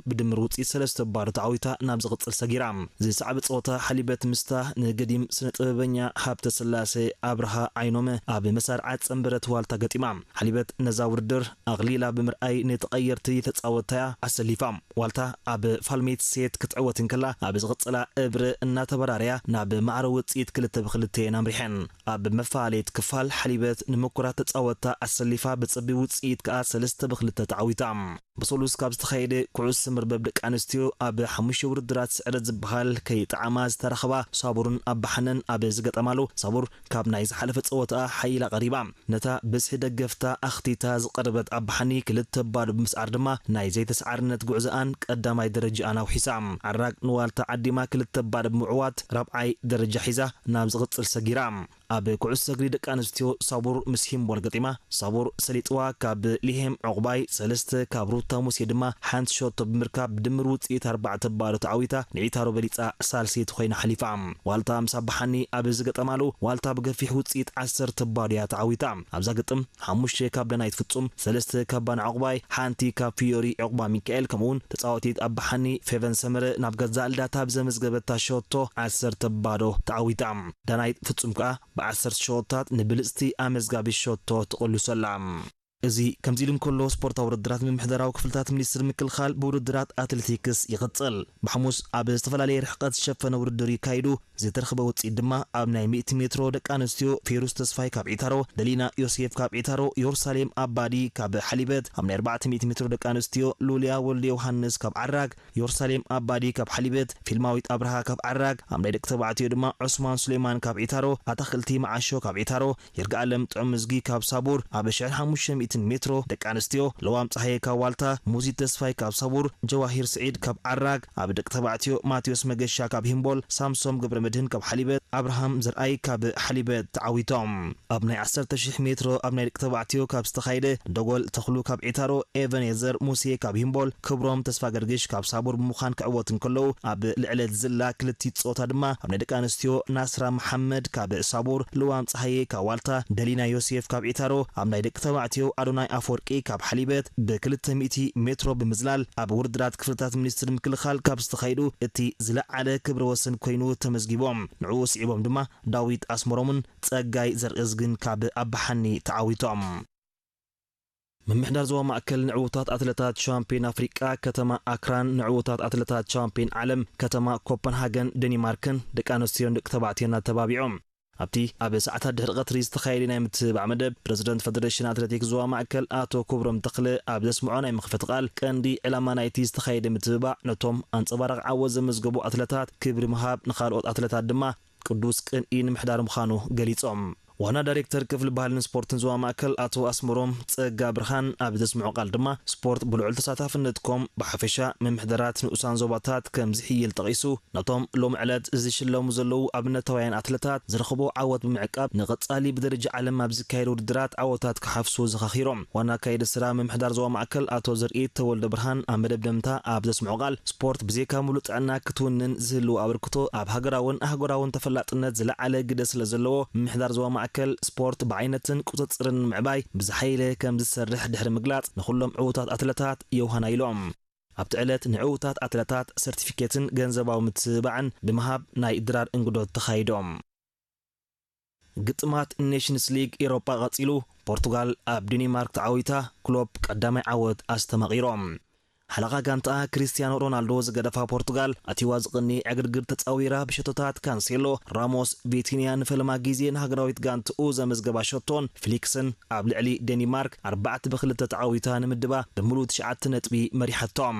ብድምር ውፅኢት ሰለስተ ባዶ ተዓዊታ ናብ ዝቕፅል ሰጊራ። ዝሰዕበ ፀወታ ሓሊበት ምስታ ንገዲም ስነ ጥበበኛ ሃብተ ስላሴ ኣብርሃ ዓይኖመ ኣብ መሳርዓ ፀንበረት ዋልታ ገጢማ። ሓሊበት ነዛ ውድድር ኣቕሊላ ብምርኣይ ንተቐየርቲ ተፃወትታያ ኣሰሊፋ። ዋልታ ኣብ ፋልሜት ሴት ክትዕወት እንከላ ኣብ ዝቕፅላ እብሪ እናተበራረያ ናብ ማዕረ ውፅኢት ክልተ ብክልተ እየን ኣምሪሐን። ኣብ መፈላለየት ክፋል ሓሊበት ንምኩራት ተፃወትታ ኣሰሊፋ ብፅቢ ውፅኢት ከኣ ሰለስተ ብክልተ ተዓዊታ። ብሰሉስ ካብ ዝተኻየደ ኩዕሶ መርበብ ደቂ ኣንስትዮ ኣብ ሓሙሽተ ውድድራት ስዕረት ዝበሃል ከይጠዓማ ዝተረኸባ ሳቡርን ኣባሓነን ኣብ ዝገጠማሉ ሳቡር ካብ ናይ ዝሓለፈ ፀወታኣ ሓይላ ቀሪባ። ነታ ብዝሒ ደገፍታ ኣኽቲታ ዝቐረበት ኣባሓኒ ክልተ ባዶ ብምስዓር ድማ ናይ ዘይተሰዓርነት ጉዕዞኣን ቀዳማይ ደረጃኣን ኣውሒሳ። ዓራግ ንዋልታ ዓዲማ ክልተ ባዶ ብምዕዋት ራብዓይ ደረጃ ሒዛ ናብ ዝቕፅል ሰጊራ። ኣብ ኩዕሶ እግሪ ደቂ ኣንስትዮ ሳቡር ምስ ሂምቦል ገጢማ። ሳቡር ሰሊጥዋ ካብ ሊሄም ዑቕባይ ሰለስተ፣ ካብ ሩታ ሙሴ ድማ ሓንቲ ሸቶ ብምርካብ ብድምር ውፅኢት ኣርባዕተ ባዶ ተዓዊታ ንዒታሮ በሊፃ ሳልሰይቲ ኮይና ሓሊፋ። ዋልታ ምስ ኣባሓኒ ኣብ ዝገጠማሉ ዋልታ ብገፊሕ ውፅኢት ዓሰርተ ባዶ እያ ተዓዊታ። ኣብዛ ግጥም ሓሙሽተ ካብ ዳናይት ፍጹም፣ ሰለስተ ካብ ባና ዑቕባይ፣ ሓንቲ ካብ ፊዮሪ ዑቕባ ሚካኤል ከምኡውን ተፃዋቲት ኣባሓኒ ፌቨን ሰመረ ናብ ገዛእ ልዳታ ብዘመዝገበታ ሸቶ ዓሰርተ ባዶ ተዓዊታ። ዳናይት ፍጹም ከኣ ብዓሰርተ ሸቶታት ንብልጽቲ ኣመዝጋቢ ሸቶ ትቕልሶ ኣላ። እዚ ከምዚ ኢሉ እንከሎ፣ ስፖርታዊ ውድድራት ምምሕዳራዊ ክፍልታት ሚኒስትሪ ምክልኻል ብውድድራት ኣትሌቲክስ ይቕጽል። ብሓሙስ ኣብ ዝተፈላለየ ርሕቀት ዝሸፈነ ውድድር ይካይዱ። ዝተረኽበ ውጽኢት ድማ ኣብ ናይ ሚእቲ ሜትሮ ደቂ ኣንስትዮ ፌሩስ ተስፋይ ካብ ዒታሮ፣ ደሊና ዮሴፍ ካብ ዒታሮ፣ ዮርሳሌም ኣባዲ ካብ ሓሊበት፣ ኣብ ናይ ኣርባዕተ ሚእቲ ሜትሮ ደቂ ኣንስትዮ ሉልያ ወልደ ዮሃንስ ካብ ዓራግ፣ ዮርሳሌም ኣባዲ ካብ ሓሊበት፣ ፊልማዊት ኣብርሃ ካብ ዓራግ፣ ኣብ ናይ ደቂ ተባዕትዮ ድማ ዑስማን ሱሌማን ካብ ዒታሮ፣ ኣታኽልቲ መዓሾ ካብ ዒታሮ፣ ይርጋኣለም ጥዑም እዝጊ ካብ ሳቡር፣ ኣብ ሽሕን ሓሙሽተ ሚእትን ሜትሮ ደቂ ኣንስትዮ ለዋም ጸሃየ ካብ ዋልታ፣ ሙዚት ተስፋይ ካብ ሳቡር፣ ጀዋሂር ስዒድ ካብ ዓራግ፣ ኣብ ደቂ ተባዕትዮ ማቴዎስ መገሻ ካብ ሂምቦል፣ ሳምሶም ገብረመድህን ካብ ሓሊበት፣ ኣብርሃም ዘርኣይ ካብ ሓሊበት ተዓዊቶም። ኣብ ናይ ዓሰርተ ሺሕ ሜትሮ ኣብ ናይ ደቂ ተባዕትዮ ካብ ዝተኻየደ፣ ደጎል ተኽሉ ካብ ዒታሮ፣ ኤቨኔዘር ሙሴ ካብ ሂምቦል፣ ክብሮም ተስፋ ገርግሽ ካብ ሳቡር ብምዃን ክዕወቱ እንከለዉ፣ ኣብ ልዕለት ዝላ ክልቲት ጾታ ድማ ኣብ ናይ ደቂ ኣንስትዮ ናስራ መሓመድ ካብ ሳቡር፣ ልዋም ጸሃየ ካብ ዋልታ፣ ደሊና ዮሴፍ ካብ ዒታሮ፣ ኣብ ናይ ደቂ ተባዕትዮ ኣዶናይ ኣፈወርቂ ካብ ሓሊበት ብክልተ ሚእቲ ሜትሮ ብምዝላል ኣብ ውድድራት ክፍልታት ሚኒስትሪ ምክልኻል ካብ ዝተኻየዱ እቲ ዝለዓለ ክብረ ወሰን ኮይኑ ተመዝጊቦም። ንዕኡ ስዒቦም ድማ ዳዊት ኣስመሮምን ጸጋይ ዘርእዝግን ካብ ኣባሓኒ ተዓዊቶም። ምምሕዳር ዞባ ማእከል ንዕዉታት ኣትለታት ሻምፒዮን ኣፍሪቃ ከተማ ኣክራን፣ ንዕዉታት ኣትለታት ሻምፒዮን ዓለም ከተማ ኮፐንሃገን ደኒማርክን ደቂ ኣንስትዮን ደቂ ተባዕትዮን ኣተባቢዖም። ኣብቲ ኣብ ሰዓታት ድሕሪ ቀትሪ ዝተኻየደ ናይ ምትብባዕ መደብ፣ ፕረዚደንት ፈደሬሽን ኣትሌቲክስ ዞባ ማእከል ኣቶ ክብሮም ተኽለ ኣብ ዘስምዖ ናይ መኽፈቲ ቃል፣ ቀንዲ ዕላማ ናይቲ ዝተኻየደ ምትብባዕ ነቶም ኣንጸባራቒ ዓወት ዘመዝገቡ ኣትለታት ክብሪ ምሃብ፣ ንኻልኦት ኣትለታት ድማ ቅዱስ ቅንኢ ንምሕዳር ምዃኑ ገሊጾም። ዋና ዳይሬክተር ክፍሊ ባህልን ስፖርትን ዞባ ማእከል ኣቶ ኣስመሮም ጸጋ ብርሃን ኣብ ዘስምዖ ቃል ድማ፣ ስፖርት ብልዑል ተሳታፍነትኩም ብሓፈሻ ምምሕዳራት ንኡሳን ዞባታት ከም ዝሕይል ጠቒሱ፣ ነቶም ሎም ዕለት ዝሽለሙ ዘለዉ ኣብነታውያን ኣትለታት ዝረኽቦ ዓወት ብምዕቃብ፣ ንቐጻሊ ብደረጃ ዓለም ኣብ ዝካየድ ውድድራት ዓወታት ክሓፍሱ ዘኻኺሮም። ዋና ኣካየዲ ስራ ምምሕዳር ዞባ ማእከል ኣቶ ዘርኢት ተወልደ ብርሃን ኣብ መደምደምታ ኣብ ዘስምዖ ቃል፣ ስፖርት ብዘይካ ምሉእ ጥዕና ክትውንን ዝህልዎ ኣበርክቶ ኣብ ሃገራውን ኣህጉራውን ተፈላጥነት ዝለዓለ ግደ ስለ ዘለዎ፣ ምምሕዳር ዞባ ማእከል ስፖርት ብዓይነትን ቁጽጽርን ንምዕባይ ብዝሓየለ ከም ዝሰርሕ ድሕሪ ምግላጽ፣ ንኹሎም ዕዉታት ኣትለታት የውሃና ኢሎም። ኣብቲ ዕለት ንዕዉታት ኣትለታት ሰርቲፊኬትን ገንዘባዊ ምትብባዕን ብምሃብ ናይ ድራር እንግዶት ተኻይዶም። ግጥማት ኔሽንስ ሊግ ኤሮጳ ቀጺሉ፣ ፖርቱጋል ኣብ ዴኒማርክ ተዓዊታ፣ ክሎፕ ቀዳማይ ዓወት ኣስተማቒሮም። ሓለቓ ጋንታኣ ክሪስቲያኖ ሮናልዶ ዝገደፋ ፖርቱጋል፣ ኣትይዋ ዝቕኒ ዕግርግር ተጻዊራ ብሸቶታት ካንሴሎ፣ ራሞስ፣ ቪቲንያ ንፈለማ ግዜ ንሃገራዊት ጋንትኡ ዘመዝገባ ሸቶን ፍሊክስን ኣብ ልዕሊ ዴኒማርክ ኣርባዕተ ብክልተ ተዓዊታ ንምድባ ብምሉእ ትሽዓተ ነጥቢ መሪሓቶም።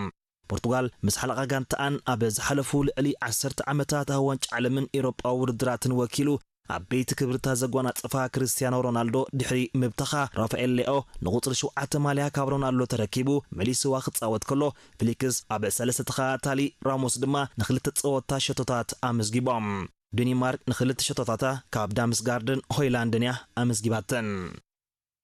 ፖርቱጋል ምስ ሓለቓ ጋንታኣን ኣብ ዝሓለፉ ልዕሊ ዓሰርተ ዓመታት ኣብ ዋንጫ ዓለምን ኤሮጳዊ ውድድራትን ወኪሉ ዓበይቲ ክብርታት ዘጓናጸፋ ክርስቲያኖ ሮናልዶ ድሕሪ ምብተኻ፣ ራፋኤል ሌኦ ንቁጽሪ ሸውዓተ ማልያ ካብ ሮናልዶ ተረኪቡ መሊስዋ ክጻወት ከሎ፣ ፍሊክስ ኣብ ሰለስተ ተኸታታሊ፣ ራሞስ ድማ ንኽልተ ጸወታ ሸቶታት ኣመዝጊቦም። ዴኒማርክ ንኽልተ ሸቶታታ ካብ ዳምስጋርድን ሆይላንድን እያ ኣመዝጊባተን።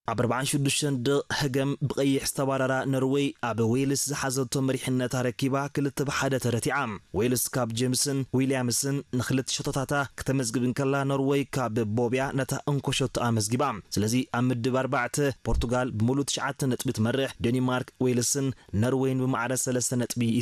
ኣብ ኣርባዓን ሽዱሽተን ደቕ ህገም ብቐይሕ ዝተባረራ ኖርወይ ኣብ ዌልስ ዝሓዘቶ መሪሕነት ኣረኪባ ክልተ ብሓደ ተረቲዓ። ዌልስ ካብ ጄምስን ዊልያምስን ንክልተ ሸቶታታ ክተመዝግብ እንከላ፣ ኖርወይ ካብ ቦብያ ነታ እንኮ ሸቶ ኣመዝጊባ። ስለዚ ኣብ ምድብ ኣርባዕተ ፖርቱጋል ብምሉእ ትሽዓተ ነጥቢ ትመርሕ፣ ዴኒማርክ፣ ዌልስን ኖርወይን ብማዕረ ሰለስተ ነጥቢ